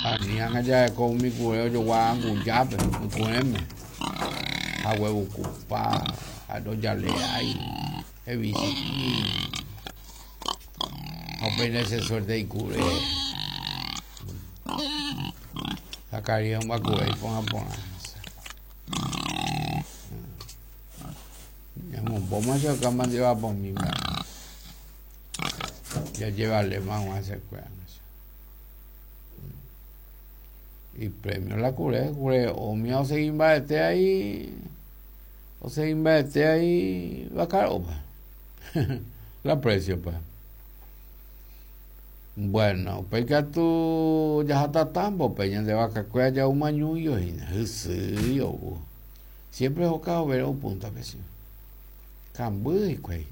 Ani ág̃a jareko umi kure ojogua angujápe, iku'ẽme, hague vukupa, ha ndojaleái, hevichi'i, ha upéi che suerte ikure. Zacarías omba'akuve iporã porã. Ñamombóma che okáma ndevapomi mba'e. Jajevaléma hag̃ua hesekuéra. Ipremio la kure, kure omia osegi mbarete ahí, osegi mbarete ahí vakaropa. La precio pa. Bueno, upéi katu jaháta Tambo-pe, ñande vakakuéra ja'úma ñúio hína, hysýi ou. Siempre hoka overa upúntape che. Kamby hikuái.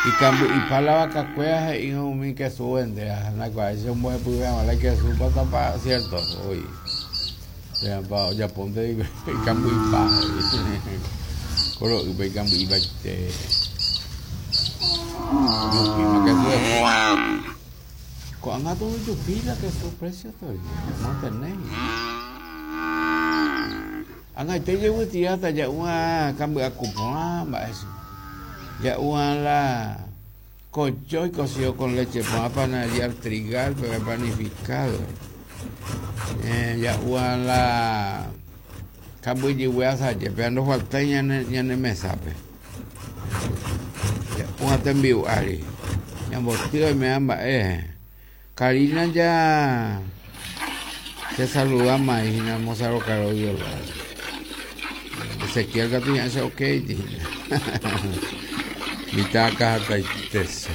Ikamby'ipa la vakakuéra he'írõ umi kesu ovendéva, ha ndaikuaái che ombohepyve hag̃ua la ikesúpa tapa cierto voi. Térãpa ojapónte ikamby'ipa he'i. Ko ro'ýpe ikamby'ipaite. Ojupíma kesu hepy. Ko'ág̃a katu ojupi la kesu precio todavía, mantenéi. Ag̃aite jevytiáta ja'úva kamby'aku porã mba'e che. Ja'úva la kochõi cocido con leche porã panadería El Trigal pe panificado. Ja'úva la kambyjygue asaje péva ndofaltái ñane mesápe. Ja'úva tembi'u ári. Ñamboty oiméva mba'e. Karina ja che saludáma hína Mozart Rocarodio lado. Ezequiel katu ña'ẽ che okéiti hína. Mitã akãhatãitese.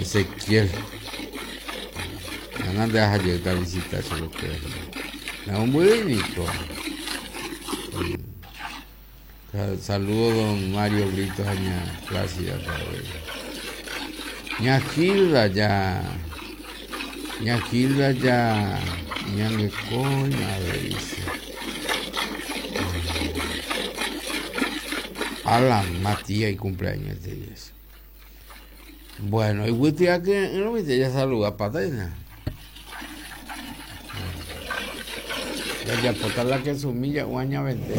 Ezequiel. Ág̃a nde aha jeýta visita chupekuéra hína. Namombyrýi niko. Saludo don Mario Brito ha ña Plácida avei. Ña Gilda ja Ña Gilda ja ñangekóima avei che. Alan Matías icumpleaños este día. Bueno, iguýty akyre'ỹrõminte jasaludapáta hína. Jajapóta la kesumi ja'u añavente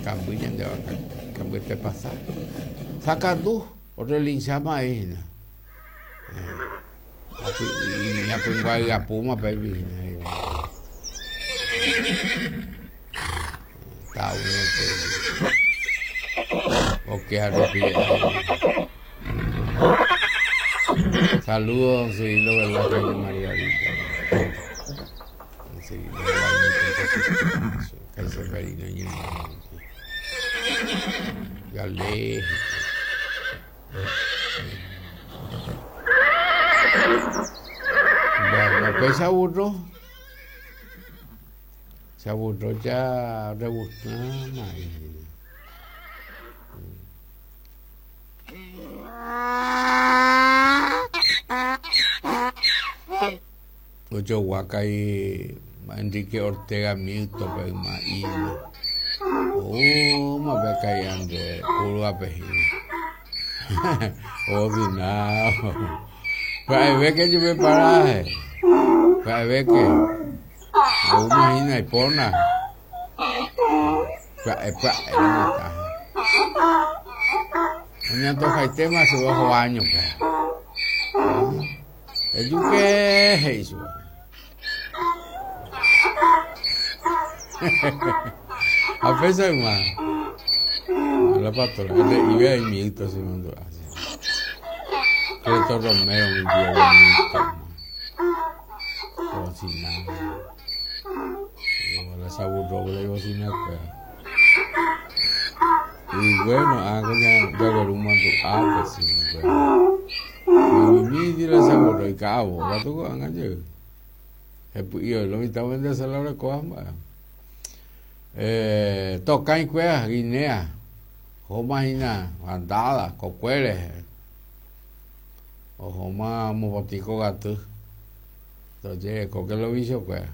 kamby ñande vaka, kambyete pasa. Sakatu orrelincháma avei hína. Ñapyngua hyapúma péipi hína. Saludos don Cirilo Velázquez de María Vita. Don Cirilo Velázquez Gale. Bueno, pues aburro. Se aburrió ya rebuscando. Ojogua kai Enrique Ortega Milton pe yma ína. Oúma pe kai Andrés curva-pe hína. Osinao. Pya'evéke jepe paraje. Pya'evéke. Oúma hína ipóna. Pya'e pya'e mitã. Oñantojaitéma chupe oho áñope. Ejuke he'i chupe. Ha péicha yma. La pastora, he'ive aimíto che mandu'a. Cleto Romero mi tío bonito. Bocina. La saburroble bocina kuéra. Y bueno, ah, ya jagueru mandu'a pues sí, bueno. Mimimi la saburro y cabo, katu ko'ág̃a jey. Hepy'i lo mitã ovendese la orekóva mba'e. Eh, tokãi kuéra, Guinea, ohóma hína bandada, kokue rehe. Ohóma mopotĩ kogaty. Tojerekóke lo vichokuéra.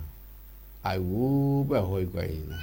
Ayvúpe oho hikuái hína.